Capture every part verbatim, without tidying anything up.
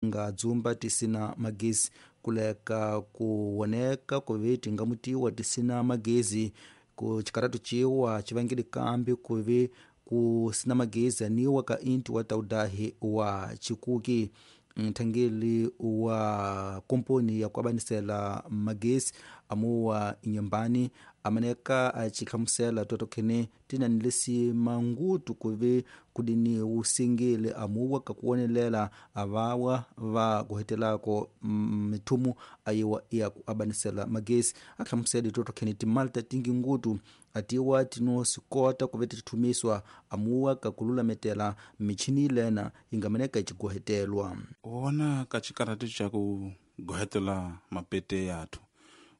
Nga dzumba tisina magezi kuleka kuwoneka kuve tingamutiwa tisina magezi ku cikaratu ciwa civangile kambi kuve kusina magezi aniwa ka inti wa taudahi wa cikuki. Nthangeli wa komponi ya kuabanisela magezi amuwa inyambani amaneka acihlamusela totokhene tinanilesi mangutu kuve kudini usingile amuwa kakuwonelela avawa va kuhetelako mithumu ayiwa ya kuabanisela magezi. Ahlamusela totokhene timalta tingi ngutu atiwa tinosikota kuve tithumiswa amuwa kakulametela michini ilena ingamaneka iciguhetelwa. Wona ka cikaratu ca ku gohetela mapete yathu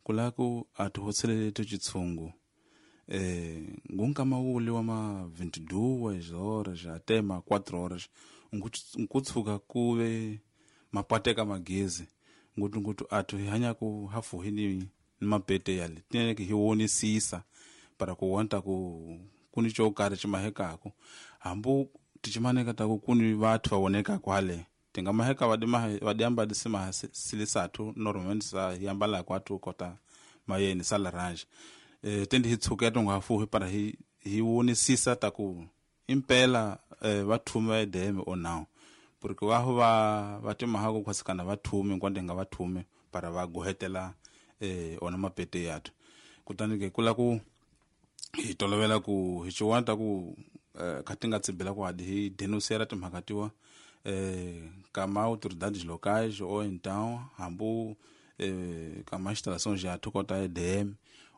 kulaku athu hotsheleletu citshungu eh ngunkama wule wa ma vinte e duas horas até ma quatro horas nkutshuka kuve mapateka magezi ngutu ngutu athu hi ku hafuhi ni ni mapete yale tineke hi wonisisa para kuwonta ku kuni co karhi cimahekaku hambu ticimaneka taku kuni vathu vawonekaku hale tingamaheka vadiamba disimaha silisathu normalmente sa hiambalako athu kota mayeni sa laranja e, tendi hi tshuketa ngafuhi para hi hi wonisisa taku impela e, vathume va E D M ou não, porque vaho va va timahako khwasikana vathume nkwante nga vathume para va gohetela e, ona mapete yathu. Kutani ke kula ku hi tolovela ku hi ciwanta ku eh, kha ti nga tsibela ku hadi hi denunciar timhaka tiwa eh, kama autoridades locais ou então hambu eh, kama instalações yathu kota E D M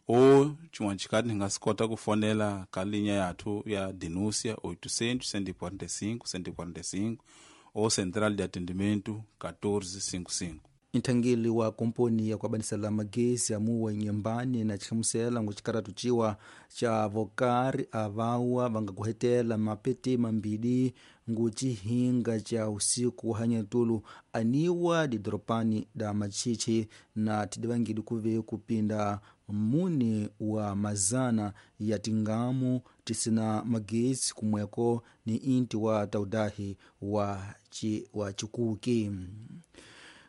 ou xin'wana xikati hi nga swi kota ku fonela ka linya yathu ya denúncia oitocentos cento e quarenta e cinco cento e quarenta e cinco ou central de atendimento catorze cinquenta e cinco. Nthangeli wa komponi ya kuabanisela magezi amuwa inyambani na cihlamusela ngu cikaratu ciwa ca vokari avawa vangakuhetela mapete mambili ngu cihinga ca usiku wa hanyatulu aniwa didoropani da machichi na tidivangili kuve kupinda muni wa mazana ya tingamu tisina magezi kumweko ni inti wa taudahi wa, chi, wa cikuki.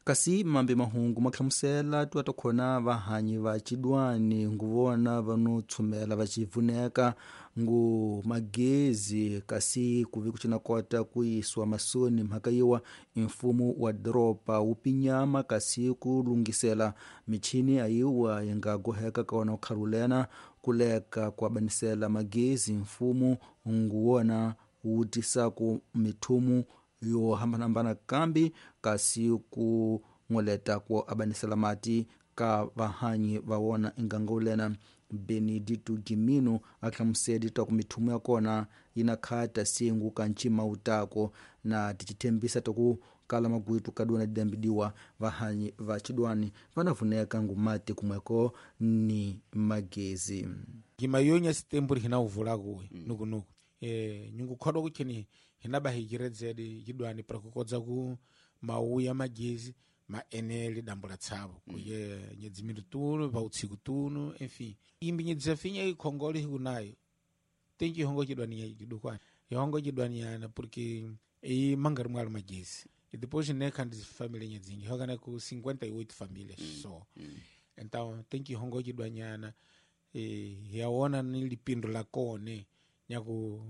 Kasi mambe mahungu mahlamusela tuwatokhona vahanyi va cidwani nguvona vano tshumela va civuneka ngu magezi kasi kuvi kucinakota kuyiswa masoni mhaka yiwa mfumo wa doropa wu pinyama kasi ku lungisela michini ayiwa yi nga goheka kona ukhalulena kuleka kuabanisela magezi mfumo nguwona wu tisaku mithumu yo hambanahambana kambi kasi ku n'weleta ku abanisela mati ka vahanyi va wona ingangulena. Benedito Gimino a hlamuseli ta ku mithumu ya kona yi na khata singu ka ncima wutako na ticithembisa ta ku kala magwitu kadwana didambidiwa vahanyi va cidwani va na vuneka ngumati kumweko ni magezi. Gimayonya sitemburi hina uvulakuwe mm. nukunuku e, nyungukhodwa kukheni hinaba hikiredzedi cidwani para kukodza ku mauya magezi maenele dambo la tsavo mm. kuye nyedzimiri tuno pautsiku tuno enfim imbi nyedzafinya ikhongole hikunayo tenji ihongo cidwani cidukwani ihongo cidwani yana porque i mangari mwalo magezi e depois né ndi família nyedzingi hokana ku cinquenta e oito famílias mm. só mm. Então tem que ihongo cidwanyana e yaona ni lipindo la kone nyaku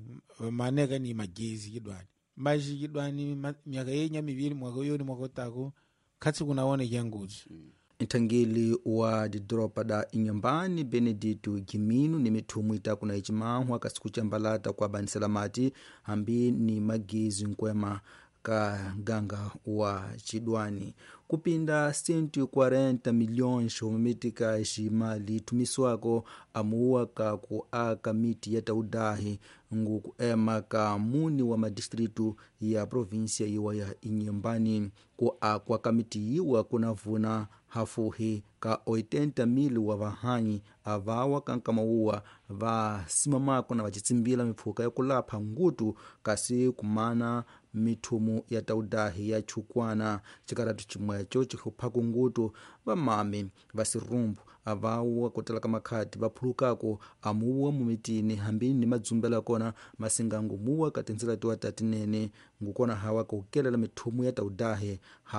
maneka ni magezi cidwani mas cidwani myaka yenya miviri mwaka yoni mwaka utako khatsi kunaone janguzi mm. Nthangeli wa didoropa da Inhambane Benedito Gimino ni mithumu itaku na icimahwa kasi kucambalata kuabanisela mati hambi ni magezi nkwema ka ganga wa cidwani kupinda cento e quarenta milhões homitika ximali ithumiswako amuwa ka ku aka miti ya taudahi ngu kuema ka muni wa madistritu ya província yiwa ya Inhambane. Ku akwa ka miti yiwa kunavuna hafuhi ka oitenta mil wa vahanyi avawa kankamauwa va simamako na vacitsimbila mipfuka ya kulapha ngutu kasi kumana mithumu ya taudahi ya chukwana. Cikaratu cimweco cihluphaku ngutu vamami va sirumbu avawa kutala ka makhati vaphulukako amuwa mumitini hambi ni madzumbela kona masingangu muwa ka tindzila tiwa tatinene ngukona hawa kukelela mithumu ya taudahi.